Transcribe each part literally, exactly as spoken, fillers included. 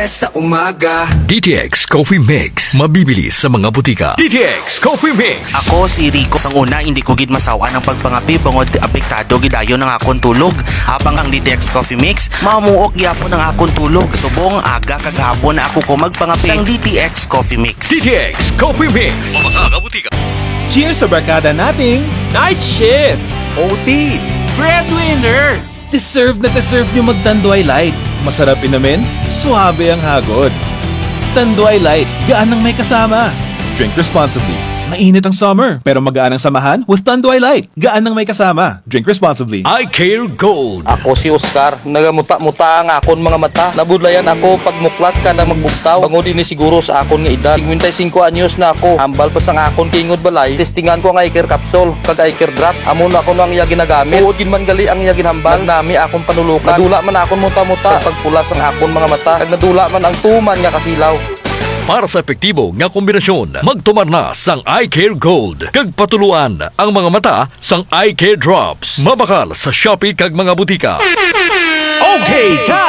Sa umaga. D T X Coffee Mix, mabibili sa mga butika. D T X Coffee Mix. Ako si Rico. Sang una, hindi ko gid masaw-an ang pagpangape bangod apektado gid dayon ang akon tulog. Habang ang D T X Coffee Mix, mamuok gyapon ang akon tulog. Subong aga kag hapon na ako ko magpangape. Sang D T X Coffee Mix. D T X Coffee Mix. Sa mga butika. Cheers sa barkada nating night shift, O T, breadwinner. Deserve na deserve nyo mag Tanduay Light. Masarap inumin, suwabe ang hagod. Tanduay Light, gaan ng may kasama. Drink responsibly. Mainit ang summer, pero magaan ang samahan with Tanduay Light. Gaan ng may kasama. Drink responsibly. Eye Care Gold. Ako si Oscar. Nagamuta-muta ang akon mga mata. Nabudlayan ako pagmuklat kada magbugtaw. Bangod ini siguro sa akon nga edad. Singkwenta y singko anyos na ako. Hambal pa sang akon tingog balay. Testingan ko ang Eye Care Capsule kag Eye Care Drop. Amo na kuno ang iya ginagamit. Tuod gid man gali ang iya ginhambal. Nagnami akon panulukan. Nadula man akon muta-muta. Kag pagpula sang akon mga mata. Kag nadula man ang tuman nga kasilaw. Para sa epektibo nga kombinasyon, magtumar na sang Eye Care Gold. Kag patuluan ang mga mata sang Eye Care Drops. Mabakal sa Shopee kag mga butika. Okay ka,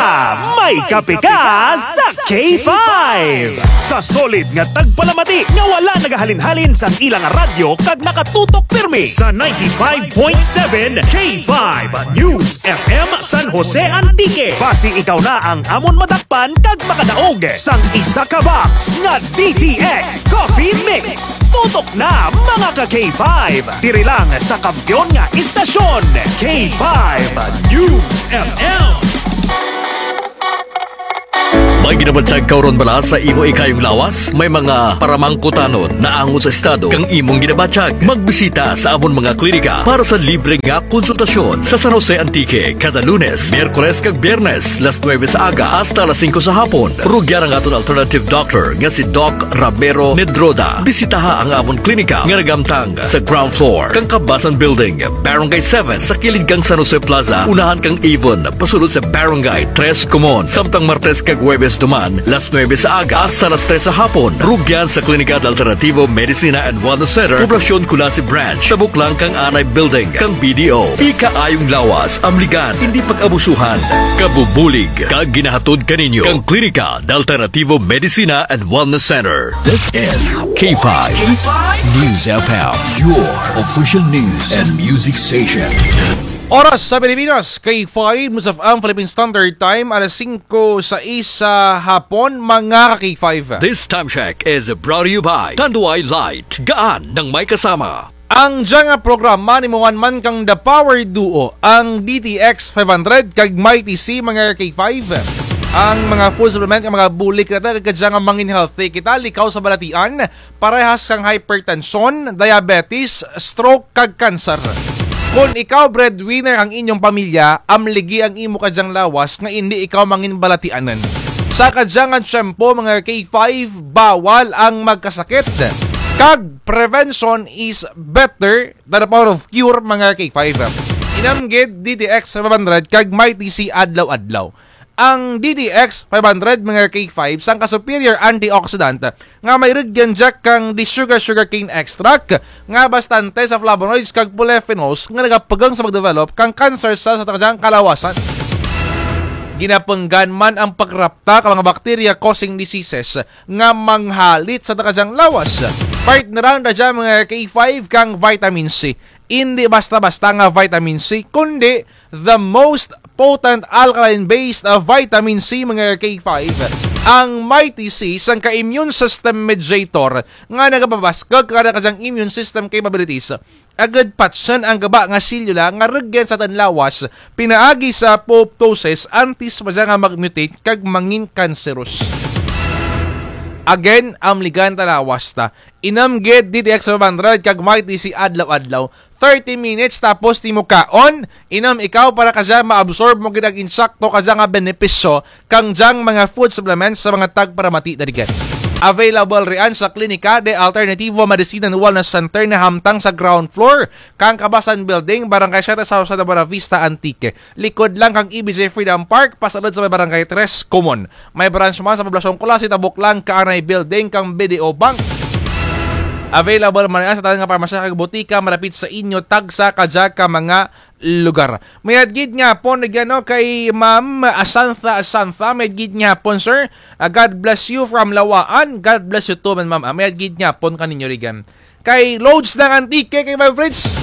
may kape ka sa K five. Sa solid nga tagpalamati nga wala nagahalin-halin sang ilang radyo kag nakatutok pirmi sa ninety-five point seven K five News F M San Jose Antique. Basi ikaw na ang amon madakpan kag makadaog sang isa ka box nga D T X Coffee Mix. Tutok na, mga ka K five. Diri lang sa kampiyon nga istasyon, K five News F M. May ginabatyag ka huron bala sa imo ikayong lawas? May mga paramangkutanon naangot sa estado kang imong ginabatyag? Magbisita sa amon mga klinika para sa libre nga konsultasyon sa San Jose Antique kada Lunes, Miyerkules kag Biyernes, las nuebe sa aga hasta las singko sa hapon. Rugyan ang aton alternative doctor nga si Doc Ramiro Nedroda. Bisitaha ang amon klinika nga nagamtang sa ground floor kang Kabasan Building, Barangay seven, sa kilid kang San Jose Plaza, unahan kang Avon, pasulod sa Barangay Tres Comon. Samtang Martes kag Huwebes duman, las nuebe sa aga hasta las tres sa hapon. Rugyan sa Klinika de Alternativo Medicina and Wellness Center, Poblacion Culasi Branch, tabok lang kang Anay Building kang B D O. Ikaayong lawas, amligan, indi pag-abusuhan. Kabubulig kag ginahatod kaninyo kang Klinika de Alternativo Medicina and Wellness Center. This is K five News F M, your official news and music station. Oras sa Pilipinas, K five News F M Philippine Standard Time, alas singko sais sa hapon, mga ka K five. This time check is brought to you by Tanduay Light, gaan ng may kasama. Ang dya nga programa nahimuan man kang The Power Duo, ang D T X five hundred kag Mighty C, mga K five. Ang mga food supplement nga mga bulig nata kag kadya nga mangin healthy kita, likaw sa balatian, parehas kang hypertension, diabetes, stroke, kag cancer. Kon ikaw breadwinner ang inyong pamilya, amligi ang imo kadyang lawas nga indi ikaw mangin balatianan. Sa kadya nga tiyempo, mga K five, bawal ang magkasakit. Kag prevention is better than the power of cure, mga K five. Inam gid D T X five hundred kag Mighty C adlaw-adlaw. Ang D T X five hundred, mga K five, sangka superior antioxidant nga may rugyan dya kang the sugar sugarcane extract nga bastante sa flavonoids kag polyphenols nga nagapugang sa pagdevelop kang cancer cells sa kadyang kalawasan. Ginapunggan man ang pagrapta ka mga bacteria causing diseases nga manghalit sa kadyang lawas. Partneran ta dya, mga K five, kang vitamin C. Indi basta-basta nga vitamin C, kundi the most potent alkaline-based, uh, vitamin C, mga K five. Ang Mighty C, sangka immune system mediator nga nagapabaskug kang kadyang immune system capabilities. Agud patyon ang gaba nga selula nga rugyan sa atun lawas, pinaagi sa apoptosis, antes pa dya nga mag-mutate kag mangin cancerous. Again, amligan ta lawas ta. Inam gid D T X five hundred kag Mighty C adlaw-adlaw. Thirty minutes tapos ti mo kaon, inam ikaw para kadya ma-absorb mo gid ang insakto kadya nga benepisyo kang dyang mga food supplements sa mga tagparamati ta rugyan. Available riyan sa Klinika de Alternativo Medicine and Wellness Center na hamtang sa ground floor kang Kabasan Building, Barangay Siete sa Jose de Buenavista, Antique. Likod lang kang E B J Freedom Park, pasulod sa may Barangay Tres Comon. May branch man sa Poblacion Culasi, tabok lang kang Anay Building kang B D O Bank. Available man riyan sa tanan nga parmasya kag botika malapit sa inyo, tagsa kadya ka mga lugar. Mayad gid nga hapon, rugyan, no, kay Ma'am Asantha Asantha, mayad gid nga hapon, sir. Ah, God bless you from Lawaan. God bless you too, man, ma'am. Ah, mayad gid nga hapon kaninyo, rugyan. Kay Lods ng Antique, kay Five Fritz.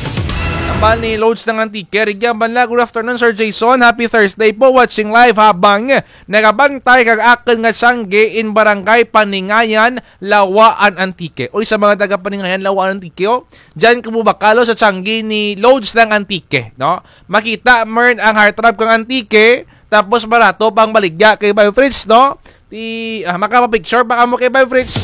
Ambal ni Lods ng Antique, rugyan bala, "Good afternoon, Sir Jason. Happy Thursday po. Watching live habang nagabantay kang akun nga tiyangge in Barangay Paningayan, Lawaan, Antique." Uy, sa mga taga Paningayan, Lawaan, Antique, oh. Dyan kamo bakal, oh, sa tiyangge ni Lods ng Antique, no? Makita mo rin ang heartthrob kang Antique, tapos barato pang baligya kay Five Fritz, no? Ti, ah, makapapicture pa kamo kay Five Fritz.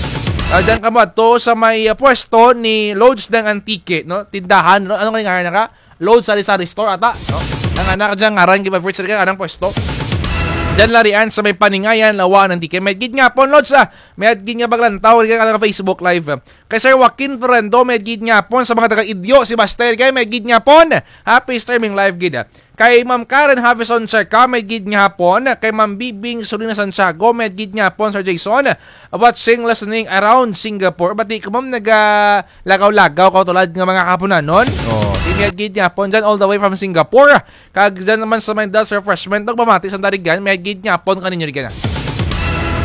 Ah, dyan kamo adto sa may, ah, pwesto ni Lods ng Antique, no? Tindahan, no? Ano nga ngaran na ka? Lods Sari-Sari Store ata, no? Ang anak dyan, ngaran kay Five Fritz, ang anang pwesto. Dyan lang riyan sa may Paningayan, Lawaan, Antique. Mayad gid nga hapon, Lods, ah. Mayad gid nga paglantaw, kay ang Facebook Live. Kay Sir Joaquin Fernando, mayad gid nga hapon. Sa mga taga Idyo, si Baster, kay mayad gid nga hapon. Happy streaming live gid. Kay Ma'am Karen Havison Checa, mayad gid nga hapon. Kay Ma'am Bibing Solina Santiago, mayad gid nga hapon, Sir Jason. Watching, listening around Singapore. Bati ko, ma'am, naga lagaw-lagaw kaw tulad nga mga Haponanon. Oh, mayad gid nga hapon dyan, all the way from Singapore. Kag dyan naman sa may Dals Refreshment, nagpamati sa Darigan, mayad gid nga hapon kaninyo, Darigan.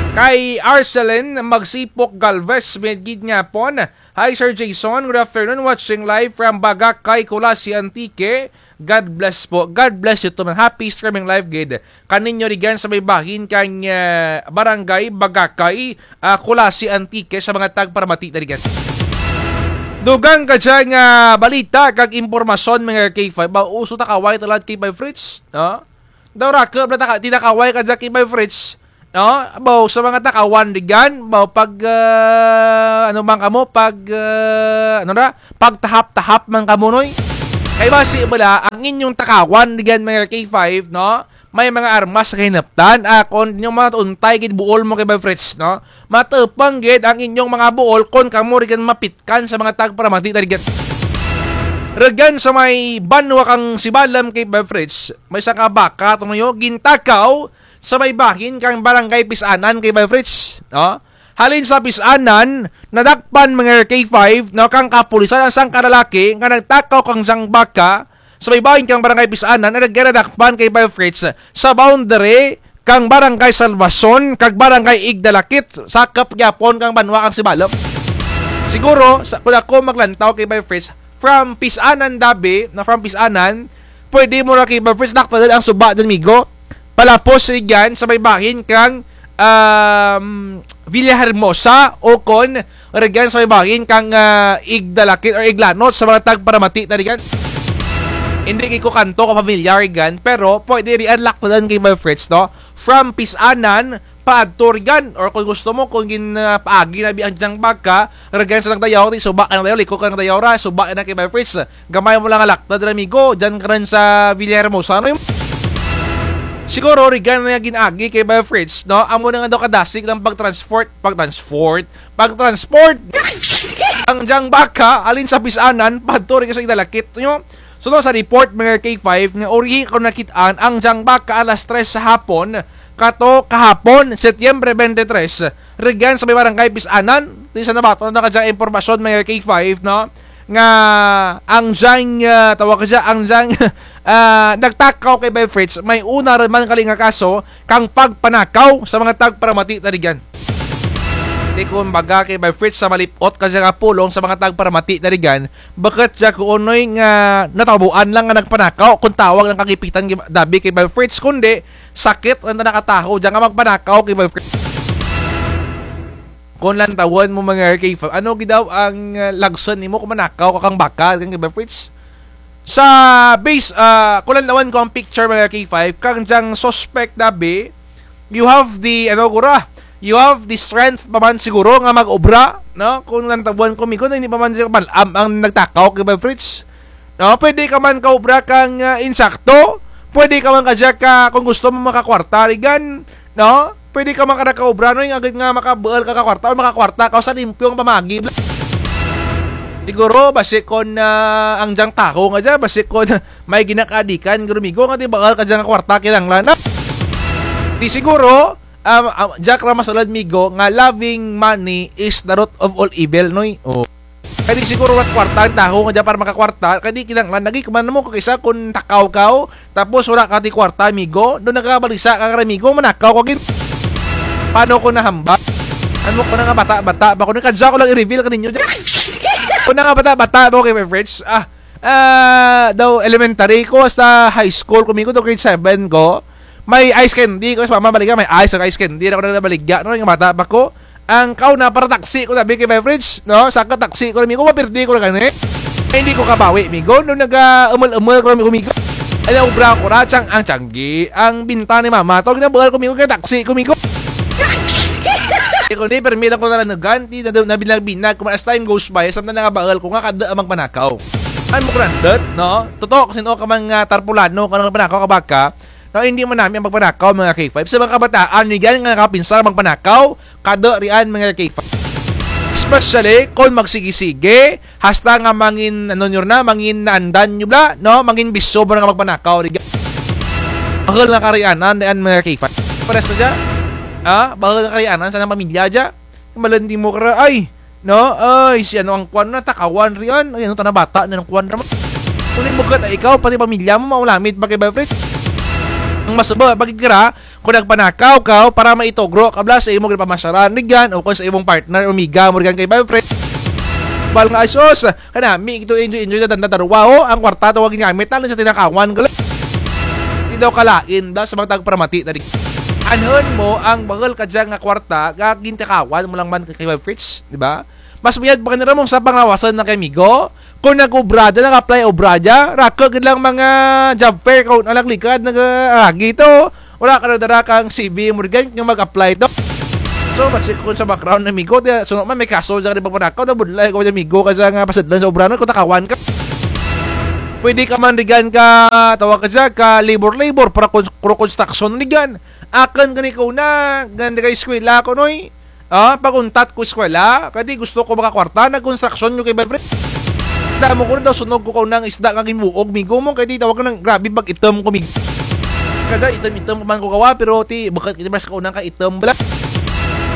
Kay Arcelin Magsipok Galvez, mayad gid nga hapon. Hi, Sir Jason. Good afternoon. Watching live from Bagacay, Culasi, Antique. God bless po. God bless you too, man. Happy streaming live gid kaninyo, Darigan, sa may bahin kang, ah, Barangay Bagacay, ah, Culasi, Antique, sa mga tagparamati, Darigan. Dugang kadya nga balita kag impormasyon, mga K five. Ba, uso takaway tulad kay Five Fritz, no? Daw raku, bala, taka-, tinakaway kadya kay Five Fritz. No? Baw, sa mga takawan, Darigan, baw, pag, ah, ano man kamo, pag, ah, ano na, pagtahap-tahap man kamo, noy. Kay basi bala, ang inyong takawan, Darigan, mga K five, no? May mga armas sa kahinaptan, ah, kon inyong mga untay gid buol mo kay Five Fritz, no? Matupang gid ang inyong mga buol kon kamo, Darigan, mapitkan sa mga tagparamati, Darigan. Rugyan sa may banwa kang Sibalom kay Five Fritz, may sangka baka, tunay, gintakaw, sa may bahin kang Barangay Pisanan kay Five Fritz, no? Halin sa Pisanan, nadakpan, mga K five, no, kang kapulisan ang sangka lalaki nga nagtakaw kang dyang baka sa may bahin kang Barangay Pisanan, nga nadakpan kay Five Fritz sa boundary kang Barangay Salvacion kag Barangay Igdalakit, sakup gihapon kang banwa kang Sibalom. Siguro, sa, kon ako maglantaw kay Five Fritz, from Pisanan, Dabi, na from Pisanan, pwede mo ra kay Five Fritz laktadun ang suba dyan, migo. Palapos rugyan sa may bahin kang, um, Villahermosa, o kon rugyan sa may bahin kang, ah, Igdalakit or Iglanot sa mga tagparamati, Darigan. Hindi gid ko kanto ka familiar rugyan, pero pwede riyan laktadun kay Five Fritz, no? From Pisanan, paadto rugyan, or kon gusto mo, kon gin, ah, paagi na bi ang dyang baka, rugyan sa nagdayaw, ti suba ka nagdayaw, liko ka nagdayaw ra, suba na kay Five Fritz. Gamay mo lang nga laktad ra, migo, dyan ka rin sa Villahermosa, no? Siguro, rugyan na gin-agi kay Five Fritz, no? Amo na nga daw kadasig ang pag-transport, pag-transport, pag-transport ang dyang baka, halin sa Pisanan, paadto rugyan sa Igdalakit, no? Sunod sa report, mga K five, nga uri kaw nakit-an ang dyang baka alas tres sa hapon, kato kahapon, Setyembre twenty-three, rugyan sa may Barangay Pisanan, ti sa nabaton na kadyang impormasyon, mga K five, no? Nga ang dyang, ah, tawag kadya, ang dyang, ah, nagtakaw kay Five Fritz, may una ra man kali nga kaso kang pagpanakaw sa mga tagparamati, Darigan. Ti kumbaga kay Five Fritz, sa malip-ot kadya nga pulong sa mga tagparamati, Darigan, bukut dya kuon, noy, nga natabuan lang nga nagpanakaw, kon tawag lang kagipitan, Dabi, kay Five Fritz, kundi sakit lang ta nakataho dya nga magpanakaw kay Five Fritz. Kon lantawun mo, mga K five, ano gid daw ang, ah, lagsun nimo kon manakaw ka kang baka, kang Five Fritz? Sa base, ah, kon lantawun ko ang picture, mga K five, kang dyang suspect, Dabi, you have the, ano, gura, you have the strength pa man siguro nga mag-obra, no? Kon lantawun ko, migo, na hindi pa man dyan mal-am ang nagtakaw kay Five Fritz. No, pwede ka man kaobra kang, ah, insakto. Pwede ka man kadya ka, kon gusto mo makakwarta, Darigan, no? Pwede ka man kadya kaobra, no, nga, nga makabuul ka ka kwarta, o makakwarta ka sa limpyong pamaagi. Siguro, basi kon, ah, ang dyang tawo nga dya, basi kon may ginakaadikan, guro, migo, nga ti buul ka dya nga kwarta, kinahanglan na. Ti siguro, um, um, dya ka ra masulud, migo, nga loving money is the root of all evil, noy? Oh. Kay di siguro wara't kwarta ang tawo nga dya para makakwarta, kay di kinahanglan lagi, kuman mo kung kaysa kung takaw kaw, tapos wara kaw ti kwarta, amigo, daw nagabalisa ka kara amigo, manakaw kaw gid. Paano ko nahambal? Ano ko na nga bata-bata pa ko, kadya ko lang i-reveal kaninyo dyan. Ko na nga bata-bata pa ko kay Fritz, ah, ah, daw elementary ko hasta high school ko, amigo, daw grade seven ko. May ice candy ko, sa mama baligya, may ice, ice candy, ako na nabaligya, no, nga bata pa ko. Ang kauna para taksi ko, sabi kay Fritz, no? Saka taksi ko, amigo, mapirdi ko na gani. Ay, hindi ko kabawi, amigo. Nung naga-umul-umul ko, amigo, amigo. Ay, naubra ko ra, tiyang, ang tiyanggi, ang binta ni mama, to, ginabuhal ko, amigo, kaya taksi ko, amigo. Di ko, di, permi lang ko talanugan, di, na, na binag-binag, kung as time goes by, samtang nangabahal ko nga, kada ang magpanakaw. Ano mo kurandot, no? Totoo, kasi no, ka mga tarpulano, ka nang panakaw, kabaka, no, hindi man nami ang magpanakaw, mga K five. Sa mga kabataan, ni gani nga nakapinsar magpanakaw, kada rian, mga K five. Especially, kung magsigi-sige, hasta nga mangin, ano nyo na, mangin naandan nyo bala, no? Mangin bisyo mo na nga magpanakaw, rigan. Bahal nga karianan, rian, mga K five. Pares na dya? Ha? Bahal nga karianan, sa nang pamilya dya? Malandi mo kara, ay, no? Ay, si ano ang kwan na, takawan rian. Ay, ano, tana bata, na ang kwan naman. Kung bukat ay ikaw, pati pamilya mo, maulamit, bagay ba, friend? Ang masaba, bagay kara, kung nagpanakaw ka, para maitugro ka bala sa imong ginapamasyaran, rigan, o kung sa imong partner, amiga mo, rigan kay boyfriend. Bal nga, ay, sus, kanami, ito, enjoy, enjoy, na, na, darwa, o, ang kwarta, tawag nga, metal, sa tinakawan, gali. Di daw kalain, bala, sa mga tagparamati, tadi. Anhon mo, ang bahal ka dyan nga kwarta, gagintakawan mo lang man kay Fritz, di ba? Mas mayad pa kanira mong sa panglawasan na kay amigo. Kung nag-obra dyan, nag-apply obra dyan, rako gid lang mga job fair, kung anak likad, nag-agi to. Wala ka na dara kang C V mo rigan, yung mag-apply to. So, basi kung sa background na amigo, di, so, man, may kaso dyan, di ba, panakaw, na budlay ko dyan, amigo, kasi nga pasadlan sa obra, no, kung takawan ka. Pwede ka man rigan ka, tawag ka dyan, ka labor-labor, para kon-, kro construction rigan. Akin gani ko na, ganda kay eskwela ko, noy. Ah, pag-untat ko eskwela, kay di gusto ko makakwarta, nag-construction nyo kay Bebres. Damo ko na daw sunog ko kaunang isda nga ginbuog, migo mo, kay di tawag ka ng grabe pag-itom ko, migo. Kada itom-itom pa man ko kawa, pero ti, bakit kita mas kaunang ka itom bala?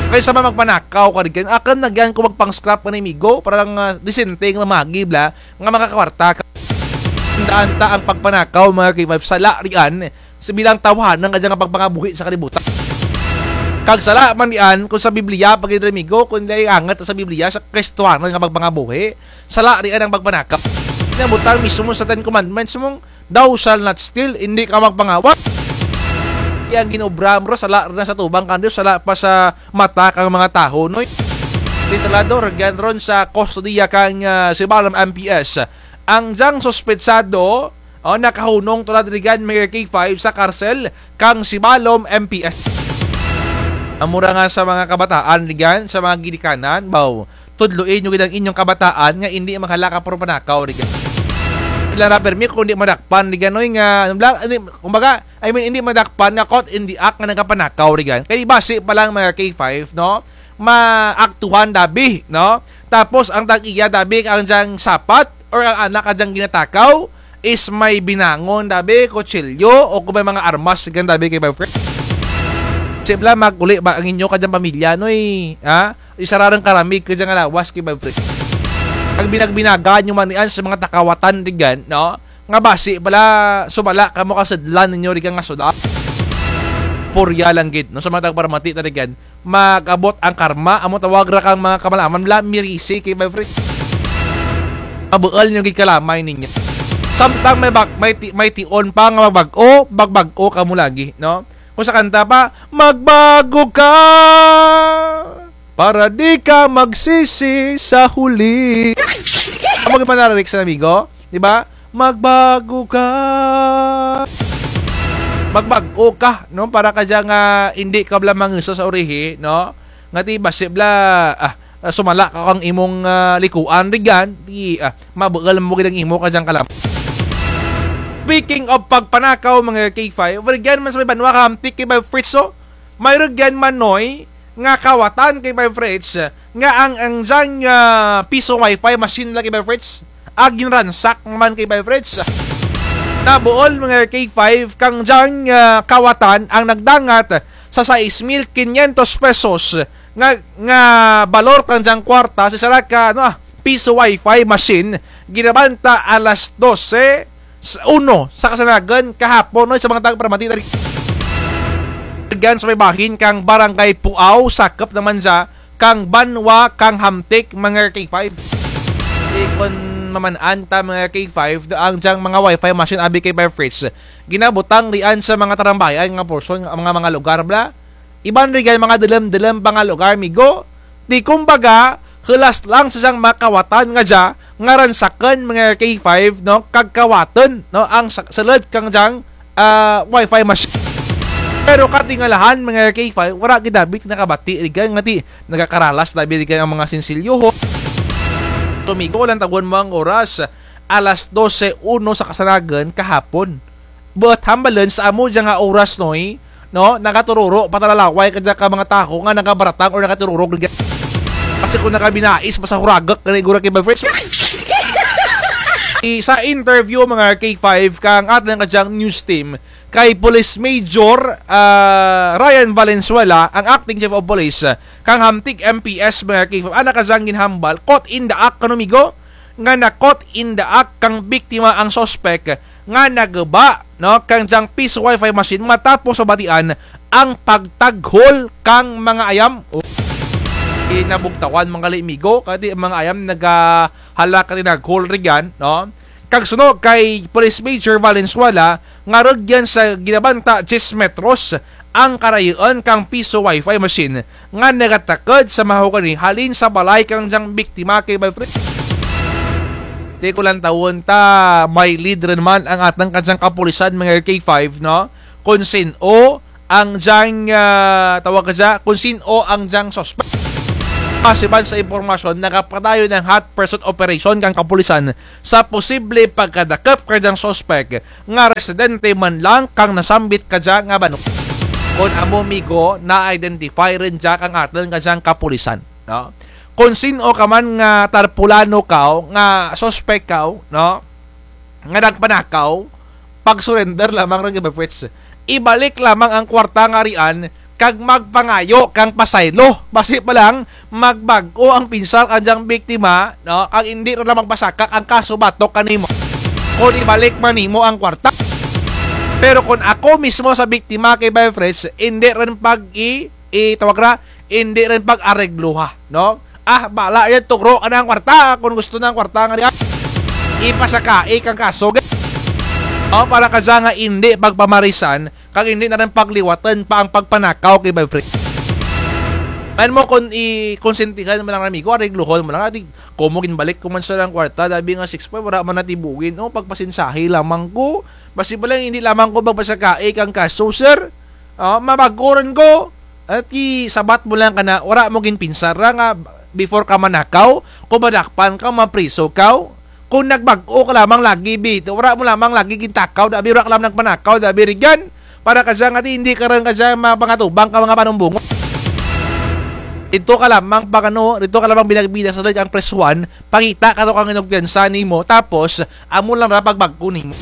Kay sa mga magpanakaw ka rin, akin na gyan ko magpang-scrap ka na, migo, para lang, ah, disenteng mamagi bala, nga makakwarta ka. Tandaan ta ang pagpanakaw, mga K five, sala rian, sa bilang tawhanan ka dyan nga pagpangabuhi sa kalibutan. Kag sala man dian, kung sa Biblia, pag amigo, kung di angat sa Biblia, sa Kristohanan nga pagpangabuhi, sala dian ang pagpanakaw. Nabutang mismo sa Ten Commandments mong, "Thou shall not steal," hindi ka magpangawa. Yang ginobra mo, sala rin sa tubang kandiyo, sala pa sa mata kang mga taho, noy. Titulado, ragyan ron sa kustodiya kang, ah, Sibalom M P S. Ang dyang suspetsado, o, nakahunong tulad rigan mga K five sa karsel kang Sibalom M P S. Amo ra nga sa mga kabataan rigan, sa mga ginikanan, baw, tudloi nyo gid ang inyong kabataan nga indi maghalaka puro panakaw rigan. Sila ra permi kung di madakpan rigan, oy, nga, ano lang, hindi, kumbaga, I mean, hindi madakpan nga caught in the act nga nagapanakaw rigan. Kay basi pa lang mga K five, no? Maaktuhan dabi, no? Tapos ang tag-iya dabi ang dyang sapat or ang anak ka dyang ginatakaw is may binangon dabi, kutsilyo, o kung may mga armas rigan dabi kay boyfriend. Sibla, mag-uli ba ang inyo ka dyang pamilya, noy? Ha? Isararang karamig ka dyang lawas kay boyfriend. Pag binagbinagaan nyo man rian sa mga takawatan rigan, no? Nga basi bala, sumala kamo kasadlan ninyo rigan nga suda. Purya lang gid, no? Sa mga tagparamati ta rigan, mag-abot ang karma, amo tawag ra kang mga kamalaman bala, mirisi kay boyfriend. Mabuol nyo gid kalamay ninyo. Samtang may bag-, may ti-, may tion pa nga magbag-o, magbag-o kamo lagi, no? Kung sa kanta pa, "Magbago ka para di ka magsisi sa huli." Amo gid man na lyrics, amigo, di ba? Magbago ka. Magbag-o ka, no? Para ka dyang, ah, hindi ka bala mangiso sa urihi, no? Nga ti basi bala, ah, ah, sumala ka kang imong, ah, likuan rigan, ti, ah, mabuol mo gid ang imo ka dyang kalam. Speaking of pagpanakaw, mga K five, rigan man sa may banwa kahamtik kay boyfriend, so, may rigan man, noy, nga kawatan kay boyfriend, nga ang, ang dyang, ah, piso wifi machine lang kay boyfriend. Ag ginransak man kay boyfriend. Nabuol, mga K five, kang dyang, ah, kawatan ang nagdangat sa sais mil kinyentos pesos nga, nga balor kang dyang kwarta sa sara ka, ano, ah, piso Wi-Fi machine, ginabanta alas dose, sa uno sa kasanagan kahapon, no, sa mga tagparamati. Rugyan sa may bahin kang Barangay Puaw, sakop naman dya kang banwa kang Hamtic, mga K five. Di kon maman-an ta, mga K five, da ang dyang mga Wi-Fi machine abi kay Bar Fritz. Ginabutang rian sa mga tarambayan nga porsyon, nga mga, mga lugar bala. Iban rugyan mga dalum-dalum pa nga lugar, migo. Di kumbaga, hulas lang sa dyang makawatan nga dya, nga ransakun, mga K five, no, kag kawatun, no, ang sa-, sulud kang dyang, ah, Wi-Fi machine. Pero katingalahan, mga K five, wara gid abi ti nakabati rugyan nga ti nagakaralas abi rugyan ang mga sinsilyo, ho. So, migo, lantawun mo ang oras, alas dose uno sa kasanagan kahapon. Buot hambalun sa amo dya nga oras, noy, no, nagatururo pa ta lalaway kadya ka mga tawo nga nagabaratang or nagatururog rugyan. Kasi kon nagabinais, basta huraguk gani gura kay Bar Fritz. I-, sa interview, mga K five, kang atun kadyang news team, kay Police Major, ah, Ryan Valenzuela, ang acting chief of police, ah, kang Hamtic M P S, mga K five, ana kadyang ginhambal, caught in the act, kano, migo? Nga na-caught in the act kang biktima ang suspek nga naguba, no, kang dyang piso Wi-Fi machine matapos mabatian ang pagtaghol kang mga ayam. O, ginabugtawan man gali, migo, kay ti ang mga ayam nagahalak nga tinaghol rugyan, no? Kag suno kay Police Major Valenzuela, nga rugyan sa ginabanta diyes metros ang karayuun kang piso Wi-Fi machine nga nagatakud sa mahogani halin sa balay kang dyang biktima kay Bar Fritz. Ti kon lantawun ta, may lead run man ang atun kadyang kapulisan, mga K five, no? Kon sin-o ang dyang, ah, tawag kadya, kon sin-o ang dyang suspek. Base man sa impormasyon, nagapadayon ang hot pursuit operation kang kapulisan sa posible pagkadakup kadyang suspek nga residente man lang kang nasambit kadya nga banwa. Kon amo, migo, na-identify run dya kang atun kadyang kapulisan, no? Kon sin-o ka man nga tarpulano kaw, nga suspek kaw, no, nga nagpanakaw, pag-surrender lamang run kay Bar Fritz. Ibalik lamang ang kwarta nga rian, kag magpangayo kang pasaylo. Basi pa lang, magbag-o ang pinsar kadyang biktima, no? Kag indi run lang magpasakak ang kaso batok kanimo. Kon ibalik man nimo ang kwarta. Pero kon ako mismo sa biktima kay Bar Fritz, indi run pag i-, itawag ra, indi run pag-aregloha, no? Ah, bala run, tugro kana ang kwarta, kon gusto na ang kwarta nga rian. Ipasakai kang kaso, ge. O, para kadya nga indi pagpamarisan, kag indi na run pagliwatun pa ang pagpanakaw kay Bar Fritz. Ano mo, kon i-, konsentihan mo lang, amigo, areglohon mo lang, ati, komo ginbalik ko man sa lang kwarta, dabi nga six five, wara man natibuin, o, pagpasensyahi lamang ko, basi pa lang, indi lamang ko magpasakai kang kaso, sir. O, mabag-o run ko. Ati, sabat mo lang kana, wara mo ginpinsar ra nga before ka manakaw, kon madakpan ka, mapriso ka. Kon nagbag-o ka lamang lagi, bi, wara mo lamang lagi gintakaw, dabi wara ka lamang nagpanakaw, dabi rugyan. Para kadya nga ti, indi ka run kadya mapangatubang ka mga panumbongon. Didto ka lamang pag ano, didto ka lamang binag-binag sa sulud kang presuhan, pangita kato kang inugpiyansa nimo, tapos, amo lang ra pagbag-o nimo.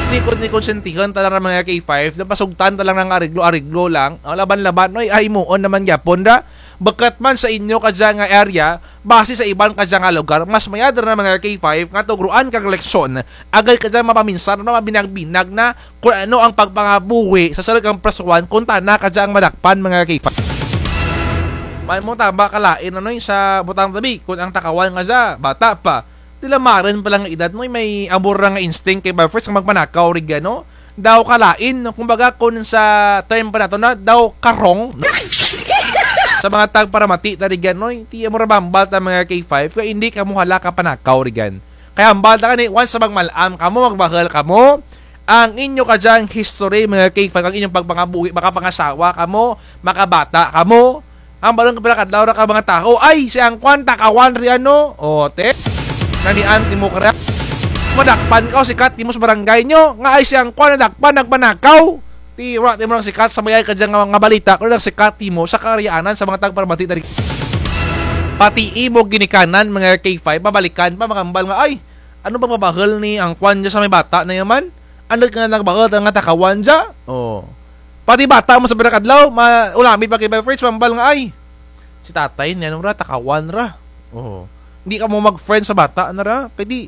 Ti kon, ti konsentihan ta lang ra mga K five, napasugtan ta lang nga areglo-areglo lang, o, laban-laban, noy, ay, himuon naman gyapon ra. Bukut man sa inyo kadya nga area, basi sa iban kadya nga lugar, mas mayad ra na mga K five nga tugroan kang leksyon, agud kadya mapaminsar, no, mabinag-binag na kon ano ang pagpangabuhi sa sulud kang presuhan kon tana kadya ang madakpan, mga K five. May mo tama ka lain, ano, sa butang tabi, kon ang takawan nga dya, bata pa. Ti lamaran pa lang nga edad, no, may amo ra nga instinct kay Bar Fritz nga magpanakaw rugyan, no? Daw kalain, no? Kumbaga, kon sa time pa nato na, daw karong, no? Sa mga tagparamati ta rugyan, no? Ti amo ra mahambal ta mga K five, kay indi kamo hala kapanakaw rugyan. Kay hambal ta kani, once sa magmal-am kamo, magbahul kamo, ang inyo kadyang history, mga K five, ang inyong pagpangabuhi, makapangasawa kamo, makabata kamo, ang balon ka pira kadlaw ra ka mga tao, ay, si Angkwan, takawan ri ano. O, te. Namian timo kara. Madakpan ka, o, sikat timo sa barangay nyo. Nga, ay, si Angkwan, nadakpan, nagpanakaw. Ti, wara timo nagsikat sa mayad kadya nga mga balita, kon nagsikat timo sa Karianan sa mga tagparamati dari. Pati imo ginikanan, mga K five, mabalikan pa, makambal nga, ay, ano bang mabahul ni Angkwan dya sa may bata na yaman? Ano nga nagbahul nga takawan dya? O. Pati bata mo sa pira kadlaw, ma-, ulamid pa kay Bel Fritz, mambal nga, ay, si tatay ni ano ra, takawan ra. O. Hindi kamo mag-friend sa bata, nara. Kay di,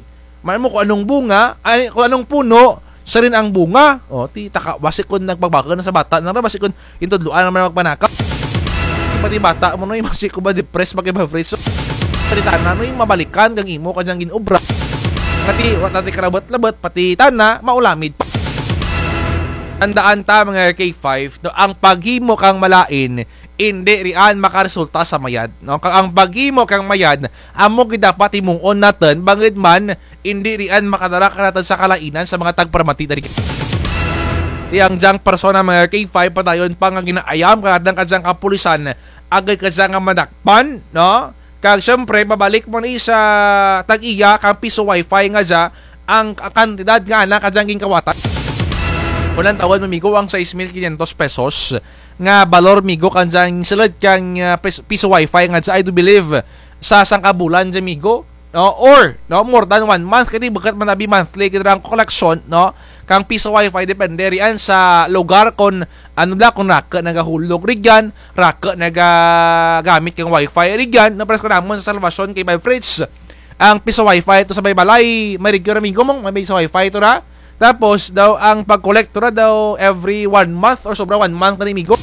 man mo kung anong bunga, ay, kung anong puno, siya rin ang bunga. O, ti, taka, basi kung nagpagbaga na sa bata, nara, basi kung intudloan naman magpanakaw. Pati bata mo, no, yung basi kung ba depressed, magkaiba friends. So, pati tana, no, yung mabalikan, kang imo, kanyang ginobra. Pati, wa natin kalabat-labat, pati tana, maulamid. Tandaan ta, mga K five, no, ang paghimo kang malain, indi rian makaresulta sa mayad, no? Kag ang paghimo kang mayad, amo gid dapat himuon natun, bangud man, indi rian makadara kanatun sa kalainan sa mga tagparamati dari. Ti ang dyang persona, mga K five, padayon pa nga ginaayam kanatun kadyang kapulisan, agud kadya nga madakpan, no? Kag syempre, babalik mo ni sa tag-iya kang piso wifi nga dya, ang k-, kantidad nga ana kadyang ginkawatan. Kung lantawun mo, migo, ang sais mil kinyentos pesos nga balor, migo, kandyang sulud kang, ah, pis-, piso wifi nga dya, I do believe, sa sangka bulan dya, migo, no? Or, no, more than one month, kay di bukut man abi monthly gid ang koleksyon, no? Kang piso wifi, depende rian sa lugar, kung ano bala, kung raku nagahulog rigyan, raku nagagamit kang wifi rigyan, no? Pares kanamun sa Salvacion kay Vibe Fritz. Ang piso wifi to sa may balay, may rigyo ra, migo, mong may piso wifi to ra. Tapos, daw, ang pag-collect to ra daw every one month or sobra one month na ni, migo.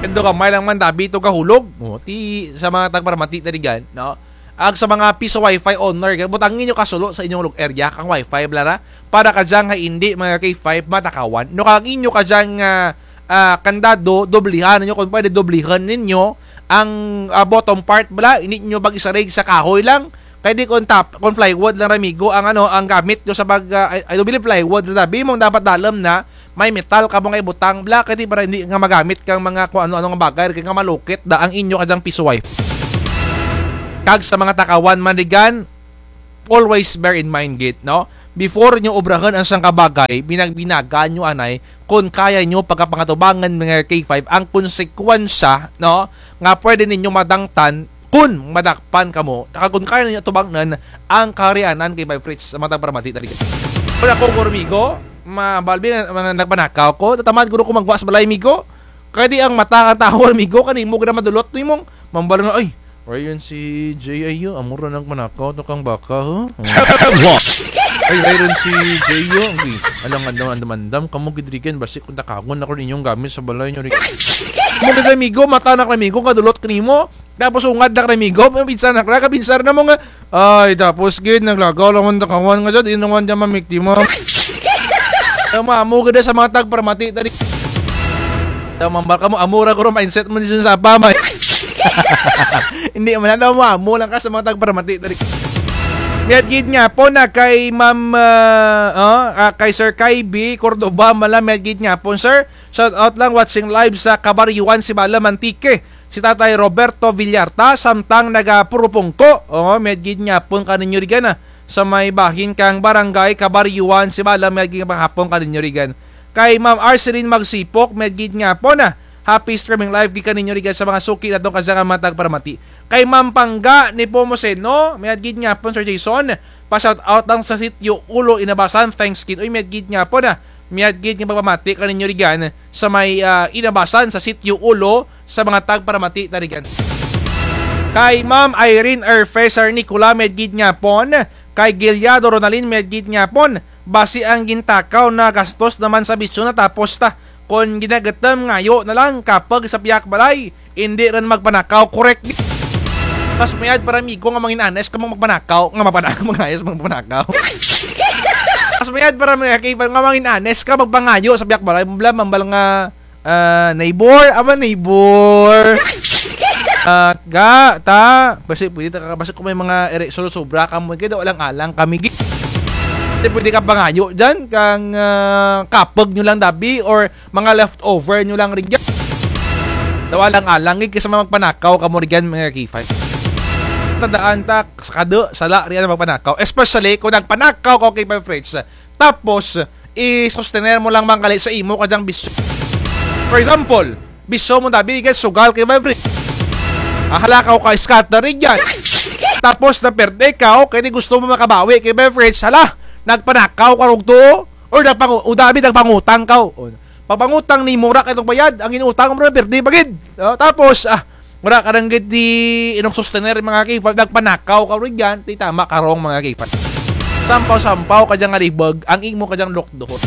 Kendo gamay lang man dabi to gahulog. O, ti, sa mga tagparamati na rigyan, no? Ag sa mga piso wifi owner, butangi nyo kasulo sa inyong lug-, area kang wifi, bala ra. Para kadyang ha indi, mga K five, matakawan. No, kang inyo kadyang, ah, ah, kandado, doblihan ninyo, kung pwede, doblihan ninyo ang, ah, bottom part, bala, indi nyo pag-isarig sa kahoy lang. Kay di kung tap-, kung plywood lang ra, migo, ang ano, ang gamit nyo sa pag, ah, I, I do believe plywood lang, dabi mong dapat dalum na, may metal kamo nga ibutang, bala, kay di para hindi nga magamit kang mga kung ano-ano nga bagay, kay nga malukit da ang inyo kadyang piso wifi. Kag sa mga takawan man rigyan, always bear in mind gid, no? Before nyo obrahun ang sangka bagay, binag-binagan nyo anay, kung kaya nyo pagkapangatubangan, mga K five, ang konsekwensya, no? Nga pwede ninyo madangtan, kung madakpan kamo, kag kung kaya ninyo atubangnan ang kaharianan kay Vibe Fritz sa mga tagparamati dari. Kung ako, guro, migo, mabalbi nga, nga nagpanakaw ko, tatamad guro ko magwa sa balay, migo. Kay di ang mata kang tawo, migo, kanimo gid madulot nimong mambal nga, "Ay, ray run si Jay, ay, yo, amo ra nagpanakaw to kang baka, ha?" Ay, ray run si Jay, yo, uy, alang andam-andam kamo gid rigyan, basi kung takawan ako ninyong gamit sa balay nyo rigyan. Amo gid, migo, mata na, migo, kadulot kanimo. Tapos ungad na, migo, pinsar na, kapinsar na mo nga. Ay, tapos gid, naglagaw lang man takawan nga dyan, di naman dyan mamiktima. Amo, amo gid sa mga tagparamati dari. Daw mambal kamo, amo ra guro mindset mo ni sa apa, may. Hindi man, daw mo, amo lang ka sa mga tagparamati dari. Mayad gid nga po na kay Ma'am, ah, oh, ah, kay Sir Kyby Cordoba, mala, mayad gid nga po, sir. Shout out lang, watching live sa Kabaryuan, Sibalom, Antique. Si Tatay Roberto Villarta, samtang naga-Purupungko. Oo, mayad gid nga po kaninyo rigyan, ah. Sa may bahin kang Barangay Kabaryuan, Sibalom, mayad gid nga hapon kaninyo rigyan. Kay Ma'am Arceline Magsipok, mayad gid nga po na. Happy streaming live gid kaninyo rigyan sa mga suki natong kadyang mga tagparamati. Kay Ma'am Pangga Nepomuceno, mayad gid nga po, Sir Jason. Pa-shout out lang sa Sitio Ulo, Inabasan, thanks gid. Uy, mayad gid nga po na. Mayad gid nga pagpamati kaninyo rigyan sa may, ah, Inabasan sa Sitio Ulo sa mga tagparamati ta rigyan. Kay Ma'am Irene Erfeser Nicola, mayad gid nga pon. Kay Giliado Ronalyn, mayad gid nga pon. Basi ang gintakaw na gastos naman sa bisyo natapos ta. Kon ginagutom, ngayo na lang, kapag sa piyak balay, indi run magpanakaw, correct. Mas mayad para migo nga mangin honest ka magpanakaw, nga magpanakaw, mangayos magpanakaw. Mas mayad para mga kaibigan nga mangin honest ka magpangayo sa piyak balay, bala, mambal nga, ah, neighbor, ama neighbor. Ah, ga, ta, basi pwede ta, basi kung may mga ere, sobra-sobra kamo, kaya daw alang-alang kami, gi-, pwede ka pangayo dyan, kang, ah, kapag nyo lang dabi, or mga leftover nyo lang rigyan. Daw alang-alang, eh, kaysa magpanakaw kamo rigyan, mga K five. Tandaan ta, sa kado, sala riyan magpanakaw. Especially kung nagpanakaw ka, K five friends. Tapos, i-sostener mo lang manggali sa imo kadyang bisyo. For example, bisyo mo dabi, guys, sugal, K five friends. Ah, hala ka, ka scatter rigyan. Tapos, naperde ka, okay, di gusto mo makabawi, K five friends. Hala, nagpanakaw ka rugto. Or nagpangu-, o dabi nagpangutang ka, o. Pagpangutang nimo ra kay itong bayad, ang inutang mo ra pirdi pa gid. O, tapos, ah, Wara ka run gid di inong sustener, mga K five, nagpanakaw ka run dyan, ti tama ka run, mga K five. Sampaw-sampaw ka dyan nga libag, ang imo ka dyan lukduhot.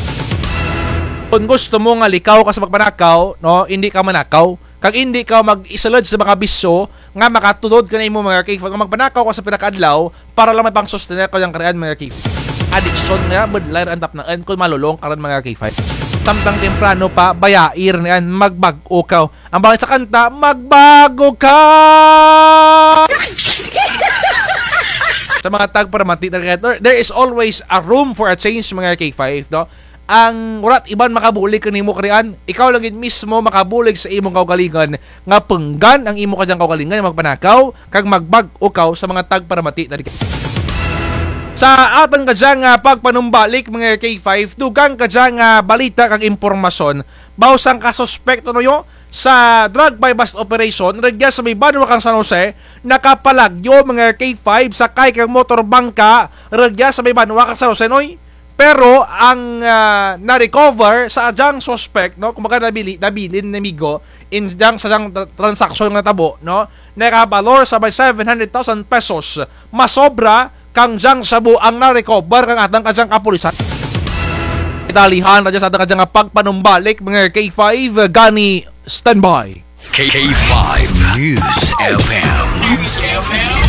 Kung gusto mo nga likaw ka sa pagpanakaw, no, indi ka manakaw. Kag indi ka mag-isulod sa mga bisyo nga makatulod kanimo, mga K five, nga magpanakaw ka sa pira ka adlaw para lang may pang-sustener ka dyan karian, mga K five. Adiksyon nga, budlay ra ang tapnaan kung malulong ka run, mga K five. Samtang temprano pa, bayai ra niyan, magbag-o ka. Ang bangin sa kanta, magbago ka! Sa mga tagparamati, there is always a room for a change, mga K five, no? Ang wara't iban makabulig kanimo karian, ikaw lang gid mismo makabulig sa imong kaugalingon, nga punggan ang imo kadyang kaugalingon nga magpanakaw, kag magbag-o kaw sa mga tagparamati na diri. Sa atun kadyang, ah, pagpanumbalik, mga K five, dugang kadyang, ah, balita kag impormasyon, baw sangka suspek, Tonoyo, sa drug buy-bust operation rugya sa may banwa kang San Jose, nakapalagyo, mga K five, sakay kang motor bangka rugya sa may banwa kang San Jose, Noy. Pero ang, ah, na-recover sa dyang suspek, no, kumbaga nabili, nabilin ni Migo, in dyang sa dyang tra-, transaksyon nga natabo, no, nakabalor sa may seven hundred thousand pesos. Masobra kang dyang shabu ang na-recover kang atun kadyang kapulisan. Dalihan ra dyan sa atun kadyang pagpanumbalik, mga K five, gani standby. K five News F M. News F M.